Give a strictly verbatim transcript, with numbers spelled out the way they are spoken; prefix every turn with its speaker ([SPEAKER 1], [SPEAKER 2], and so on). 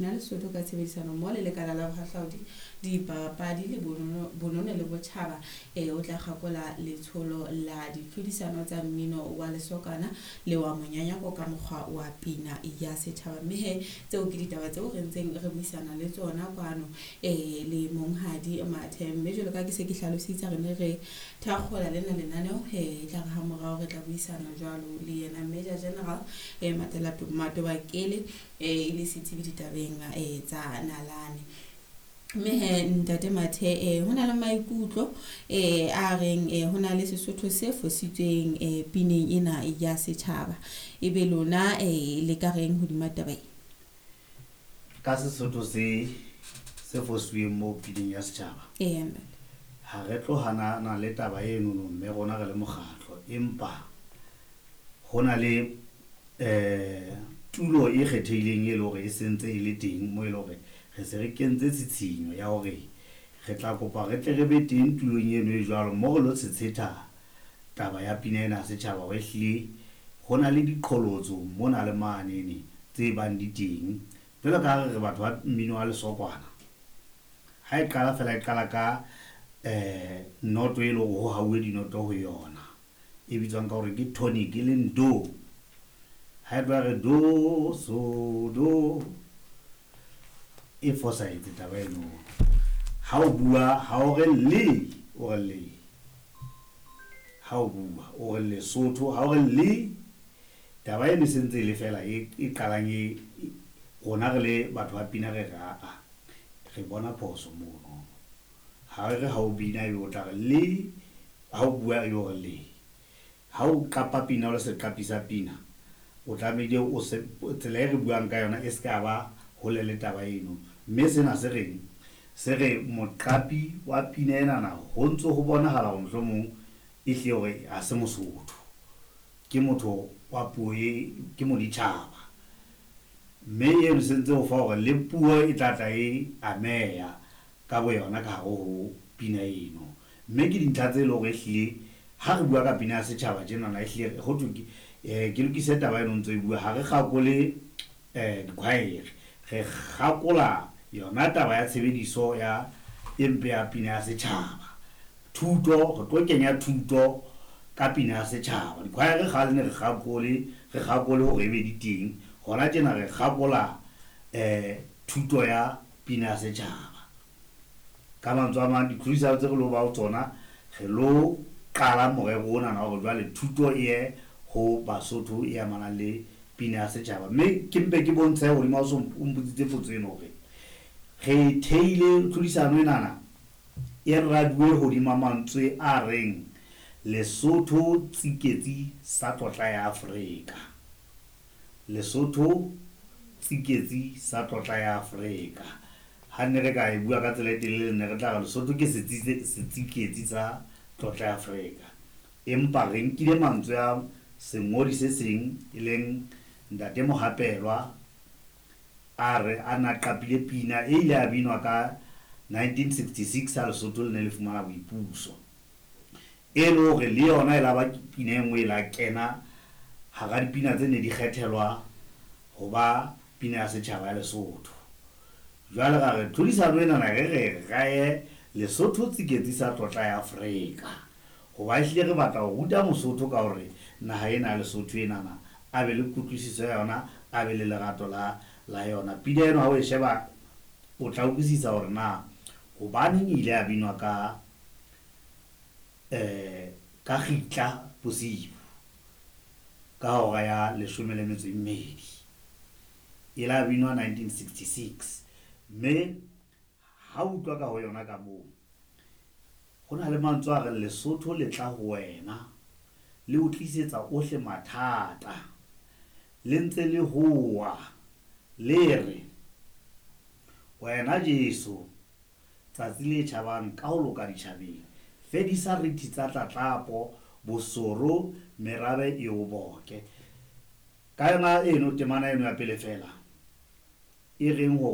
[SPEAKER 1] Na Lesotho ka tshebedisano mmoho le lekala la bohahlaudi, dipapadi le bonono, bonono le botjhaba eh, o tla kgakola letsholo la ditlhodisano tsa mmino wa lesokana le wa monyanyako ka mokgwa wa pina ya setjhaba. Mme he tseo ke ditaba tseo re ntseng re buisana le tsona kwano eh, le monghadi Mathe. Mme jwalo ka ke se ke hlalositse, re ne re thakgola lena lenaneo eh, e tla re ha morao re tla buisana jwalo le yena Major General eh, Matela Matobakele eh, e le setsebi ditabeng eh, tsa nalane. Mme he ntate Mathe, eh, ho na le maikutlo eh, a reng eh, ho na le Sesotho se fositsweng eh, pineng ena ya setjhaba. Ebe lona eh, le ka reng hodima taba e?
[SPEAKER 2] Ka Sesotho se se fositsweng mo pineng ya setjhaba,
[SPEAKER 1] Eya ntate.
[SPEAKER 2] ha re tlo hanana le taba enono, mme rona re le mokgatlo, empa ho na le eh tulo e kgethehileng e le hore e sentse e le teng mo e le hore re se re kentse tshitshinyo ya hore re tla kopa re tle re be teng tulong eno e jwalo mo re lo tshetshetha taba ya pina ena ya setjhaba, hore ehlile ho na le diqholotso mona le manene tse bang di teng. Jwalo ka ha re re batho ba mmino wa lesokwana, ha e qala fela e qala ka eh noto e le hore ho hauwe dinoto ho yona e bitswang ka hore ke tonic, e leng do. Ha e tloha re do so do, e fosahetse taba eno. Ha o bua, ha o re le, o re le. Ha o bua o re Lesotho, ha o re le, taba eno e sentse e le fela e e qalang e e- rona re le batho ba pina re re aa, re bona phoso mono. Ha re re ha o bina ebe o tla re le, ha o bua ebe o re le. Ha o qapa pina o le seqapi sa pina, o tlamehile o se tsela e re buang ka yona e se ka ba hole le taba eno. Mme sena se reng? Se re moqapi wa pina enana ho ntso ho bonahala hore mohlomong e hlile hore ha se Mosotho, ke motho wa puo e, ke moditjhaba. Mme eno se ntse ho fa hore le puo e tla tla e ameha ka bo yona ka hare ho pina eno. Mme ke dintlha tse leng hore ehlile ha re bua ka pina ya setjhaba tjenana, ehlile ho thwe ke eh, ke lokise taba eno ntso e bua, ha re kgakole eh dikhwaere, re kgakola yona taba ya tshebediso ya e mpe ya pina ya setjhaba. Thuto, re tlo kenya thuto ka pina ya setjhaba. Dikhwaere kgale ne re kgakole, re kgakole hore ebe di teng. Hona tjena re kgakola eh thuto ya pina ya setjhaba. Ka mantswe a mang, ditlhodisano tse re lo ba ho tsona, re lo qala morero ona wa hore jwale thuto e ye ho Basotho e amanang le pina ya setjhaba. Mme ke mpe ke bontshe hodima o so o mpotsitse potso eno hore re theile tlhodisano enana e raduwe hodima mantswe a reng Lesotho tsiketsi sa tlotla ya Afrika. Lesotho tsiketsi sa tlotla ya Afrika. Ha ne re ka e bua ka tsela e telele, ne re tla re Lesotho ke setsitse setsiketsi sa tlotla ya Afrika. Empa re nkile mantswe a sengodi se seng e leng Ntate Mohapelwa, a re a na qapile pina e ile ya binwa ka nineteen sixty-six ha Lesotho le ne le fumana boipuso. E le hore le yona e la ba pina e nngwe e la kena hara dipina tse ne di kgethelwa ho ba pina ya setjhaba ya Lesotho. Jwale ra re tlhodisano enana re re raye Lesotho tsiketsi sa tlotla ya Afrika, hoba ehlile re batla ho ruta Mosotho ka hore naha ena ya Lesotho enana a be le kutlwisiso ya yona, a be le lerato la la yona. Pina eno ha o e sheba o tla utlwisisa hore na hobaneng e ile ya binwa ka eh ka kgitla bosiu ka hora ya leshome le metso e mmedi. E la binwa nineteen sixty-six. Mme ha o utlwa ka ho yona ka moo, ho na le mantswe a reng Lesotho le tla ho wena, le o tlisetsa ohle mathata, le ntse le hoa, le re wena Jesu tsatsi le tjhabang ka ho loka ditjhabeng, fedisa rithi tsa tlatlapo, bosoro, merabe e o boke. Ka yona eno temana eno ya pele fela e reng hore